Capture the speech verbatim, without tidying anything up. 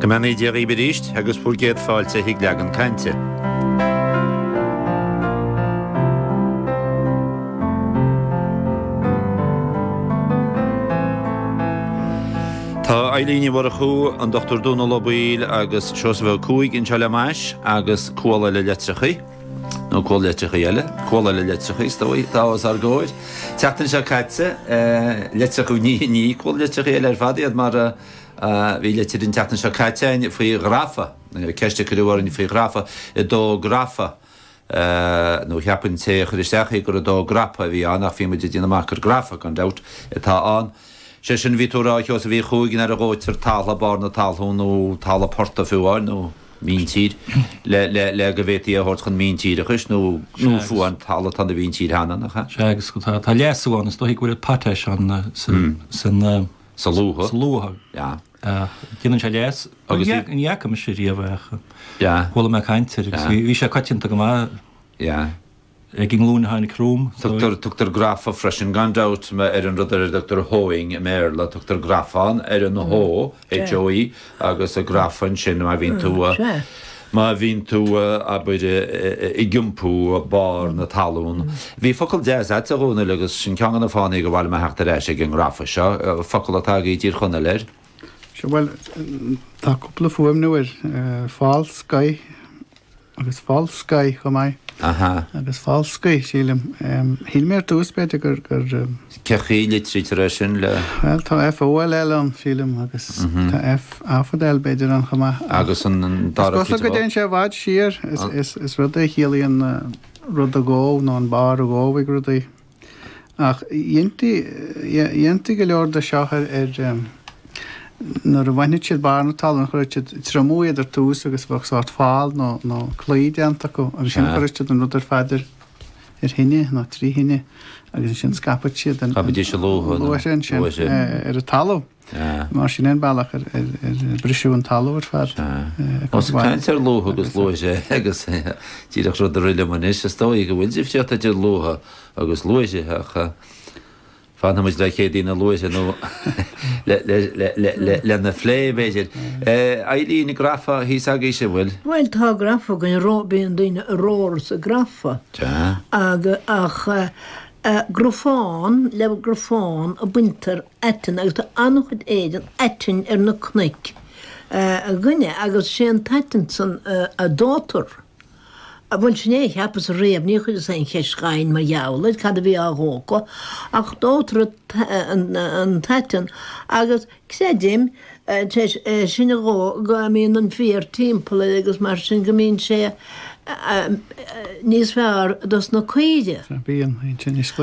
Go mbeannaí Dia dhaoibh arís agus bhur gcéad fáilte chuig Leagan Cainte. Tá Eilín Ní Mhurchú, an Dochtúir Dónal Ó Baoill agus Seosamh Ó Cuaig anseo le m'ais agus cual eile litreachaí, nó cual litreachaí eile, cual eile litreachaí, is dóigh, atá os ár gcomhair. Tseachtain seo caite, litreacha, ní, ní cual litreachaí eile ar fad iad mar a bhí litir an tseachtain seo caite againn faoi ghrafa, ceist a cuireadh orainn faoi ghrafa, ag dó grafa, nó cheap an té a chuir isteach í gur ag dó grapa a bhí ann ach bhí muid ag déanamh amach gur grafa, gan dabht, atá ann. Sé sin, bhí tú ag rá, a Sheosaimh Uí Chuaig, nuair a dhóitear talamh, barr na talún nó talamh portaigh fiú amháin, nó míntír, le, le, le go bhféadfaí é a thabhairt chun míntíreachais nó, nó fiú amháin talamh atá ina mhíntír cheana, nach ea? Sea, agus tá, tá leasú ann, is dóichí go bhfuil potash ann sa, san, Sa luaithe. Sa luaithe. Yeah. Déanann sé leas. Agus Ní ní fhaca mise riamh é ach Yeah. chuala mé caint air agus bhí bhí sé coitianta go maith Yeah. ag an nglúin a tháinig romham. Tugtar tugtar grafa freisin gan dabht ar an rud ar a dtugtar hoeing i mBéarla, tugtar grafán ar an hoe, H O E, agus grafa ansin má bhíonn tú má bhíonn tú, abair, ag iompú barr na talún. Bhí focal deas agat, a Dhónaill, agus sin ceann de na fáthanna gur mhaith liom a theacht ar ais ag an ngrafa seo, focal atá agaibh i dTír Chonaill air. Sea, bhuel, tá cúpla fuaimniú air, falscaí agus falscaí chomh maith. Aha. Agus falscaí, sílim. Shíl mé ar dtús, b'fhéidir, gur, gur. Cé chaoi a litrítear é sin le. Bhuel, tá F O L L ann, sílim, agus tá F A fada L, b'fhéidir, ann chomh maith. Agus an dara Is cosúil go dtéann sé i bhfad siar. Is, is rud é a chiallaíonn rud a dhó nó an barr a dhó ag rudaí. Ach dhéantaí, dhéantaí go leor de seo ar, ar, nuair a bhainfeadh siad barr na talún, chuirfeadh siad triomú iad ar tús agus bheadh sórt fál nó, nó claí déanta acu agus ansin chuirfeadh siad an rud ar fad ar, ar thine nó trí thine agus ansin scaipfeadh siad an, Scaipfidís an luaithe nó luaithe ansin luaithe. ar an talamh. Sea. Mar sin é an bealach ar, ar, ar briseadh an talamh ar fad. Sea. Ós ag caint ar luaithe agus luaithe agus díreach rud a rith liom anois, is dóigh go bhfuil difríocht idir luaithe agus luaithe ach fanfaidh muid le Céadaoin na Luaithre nó lena phlé, b'fhéidir. Eileen, grafa thíos agaibhse, an bhfuil? Bhuel, tá grafa againn, bíonn daoine ag romhar sa grafa. Sea. Ach grafán, le grafán a baintear aiteann agus tá an-chuid éigin aitinn ar na cnoic againne agus sé an t-aiteann san a dóitear. Bhuel, sin é a cheapas riamh, níor chuireas aon cheist dh'éinne mar gheall air, cad a bhí á dhó acu, ach dóitear an t-aiteann agus creidim, tar éis é sin a dhó, go mbíonn an féar timpeall air agus mar sin go mbíonn sé níos fearr dos na caoirigh. Bíonn, bíonn sé níos